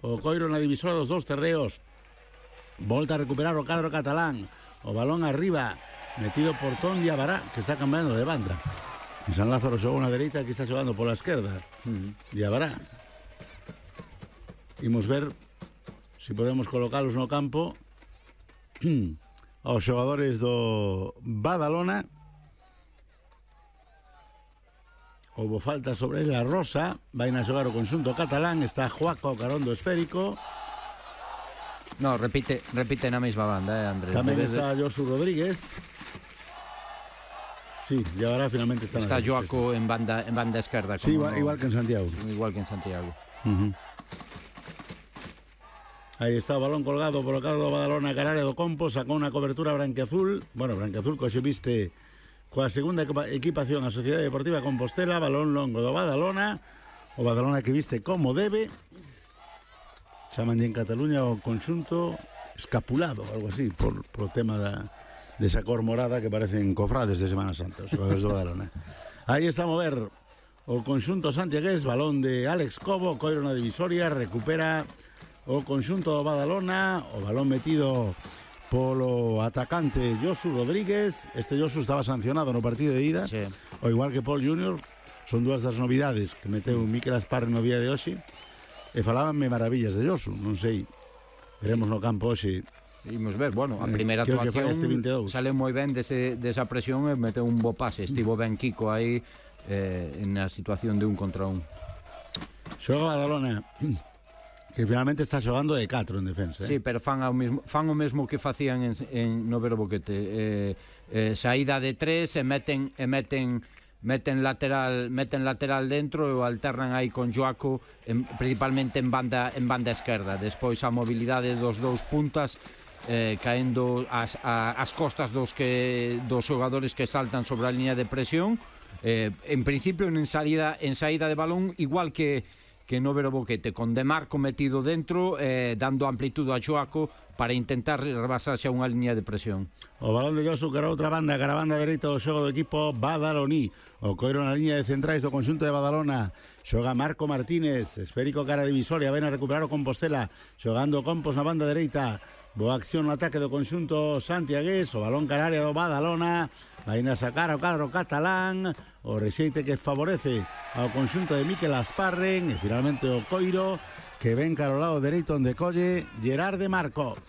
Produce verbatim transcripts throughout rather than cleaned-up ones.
O Coiro na divisora dos dous terreos. Volta a recuperar o cadro catalán. O balón arriba, metido por Ton Diabará, que está cambiando de banda. En San Lázaro xogou na dereita, aquí está xogando pola esquerda. Mm. Diabará. Imos ver se si podemos colocalos no campo aos xogadores do Badalona. Houbo falta sobre la Rosa. Vai a xogar o conxunto catalán. Está Joaco Carondo esférico. No, repite, repite na mesma banda, eh, Andrés. Tamén está de... Josu Rodríguez. Sí, y ahora finalmente está Está Joaco en banda, en banda esquerda. Sí, igual, no, igual que en Santiago. Igual que en Santiago. Uh-huh. Aí está o balón colgado polo cadro do Badalona, Cararia do Compo. Sacou unha cobertura branquiazul. Bueno, branquiazul que xe viste coa segunda equipación a Sociedade Deportiva Compostela. Balón longo do Badalona. O Badalona que viste como debe. Chaman en Cataluña o conxunto escapulado, algo así, por, por tema da, de esa cor morada que parecen cofrades de Semana Santa, os xogadores do Badalona. Aí está a mover o conxunto santiagués, balón de Alex Cobo, Coiro na divisoria, recupera o conxunto do Badalona, o balón metido polo atacante Josu Rodríguez. Este Josu estaba sancionado no partido de ida, sí. O igual que Paul júnior, son dúas das novidades que meteu Mikel Asparre no día de hoxe. E falabanme maravillas de Josu, non sei, veremos no campo hoxe. Imos ver, bueno, a primeira eh, actuación este sale moi ben dese, desa presión e meteu un bo pase, estivo ben Kiko aí eh, na situación de un contra un. Xoga Badalona, que finalmente está xogando de catro en defensa, eh? Sí, pero fan, ao mesmo, fan o mesmo que facían en, en no Vero Boquete, eh, eh, saída de tres e meten e meten meten lateral, meten lateral dentro e o alternan aí con Joaco en, principalmente en banda en banda esquerda. Despois a mobilidade dos dous puntas eh, caendo as, a, as costas dos que dos xogadores que saltan sobre a línea de presión, eh, en principio en saída en saída de balón igual que que no Vero Boquete, con De Marco metido dentro, eh, dando amplitude a Joaco para intentar rebasarse a unha línea de presión. O balón de Josu cara a outra banda, cara a banda dereita do xogo do equipo badaloní. O Coiro na línea de centrais do conxunto de Badalona. Xoga Marco Martínez, esférico cara divisoria, ven a recuperar o Compostela, xogando Compos na banda dereita. Boa acción no ataque do conxunto santiagués, o balón cara área do Badalona, vai a sacar o cadro catalán, o rexeite que favorece ao conxunto de Mikel Asparre, e finalmente o Coiro, que ven cara ao lado dereito onde colle Gerard de Marco.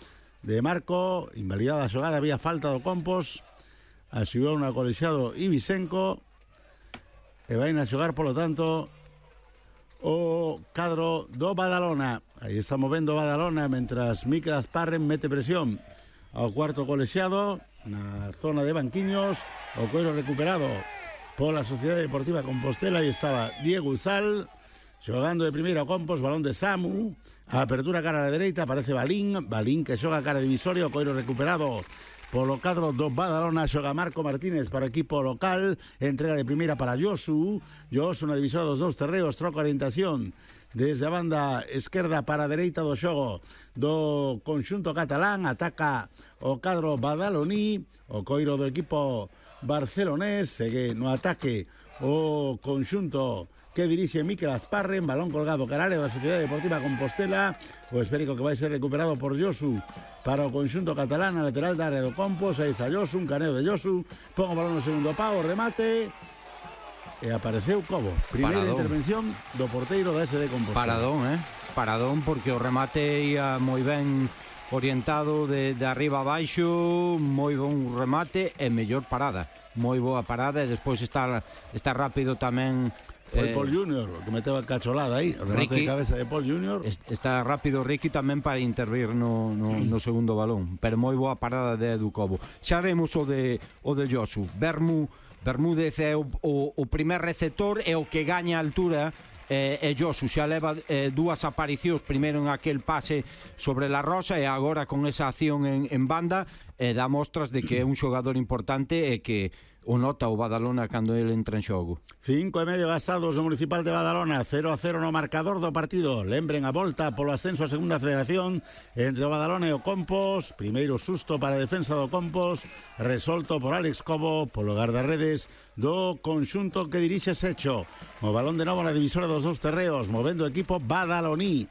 De Marco, invalidada a xogada, había falta do Compos, asiou un colexiado Ibisenco, e vai a xogar, polo tanto, o cadro do Badalona. Aí está movendo Badalona mentras Mikel Asparre mete presión ao cuarto colexiado na zona de banquiños. O Coiro recuperado pola Sociedade Deportiva Compostela. Aí estaba Diego Uzal xogando de primeiro a Compos, balón de Samu, a apertura cara a la dereita, aparece Balín, Balín que xoga cara divisoria. O Coiro recuperado polo cadro do Badalona, xoga Marco Martínez para o equipo local, entrega de primeira para Josu, Josu na divisora dos dous terreos, troca orientación desde a banda esquerda para a dereita do xogo do conxunto catalán, ataca o cadro badaloní, o Coiro do equipo barcelonés, segue no ataque o conxunto que dirixe Mikel Asparre, en balón colgado carario da Sociedade Deportiva Compostela, o esférico que vai ser recuperado por Josu para o conxunto catalán, a lateral da área do Compos. Aí está Josu, un caneo de Josu, pon o balón no segundo pau, remate, e apareceu Cobo. Primeira Paradón. Intervención do porteiro da S D Compostela. Paradón, eh? Paradón, porque o remate ia moi ben orientado de, de arriba a baixo, moi bon remate e mellor parada, moi boa parada, e despois está, está rápido tamén. Foi eh, Paul júnior que meteu a cacholada aí, o remate Ricky, de cabeza de Paul júnior. Está rápido Ricky tamén para intervir no, no, no segundo balón, pero moi boa parada de Edu Cobo. Xa vemos o de o de Josu. Bermú, Bermúdez é o, o, o primer receptor e o que gaña a altura. E, e Josu xa leva eh, dúas aparicións, primeiro en aquel pase sobre la Rosa e agora con esa acción en, en banda, e dá mostras de que é un xogador importante e que o nota o Badalona cando ele entra en xogo. Cinco e medio gastados no Municipal de Badalona, cero a cero no marcador do partido. Lembren a volta polo ascenso a segunda federación entre o Badalona e o Compos. Primeiro susto para a defensa do Compos, resolto por Alex Cobo polo guardarredes do conxunto que dirixe Secho. O balón de novo na divisora dos dous terreos, movendo o equipo badaloní.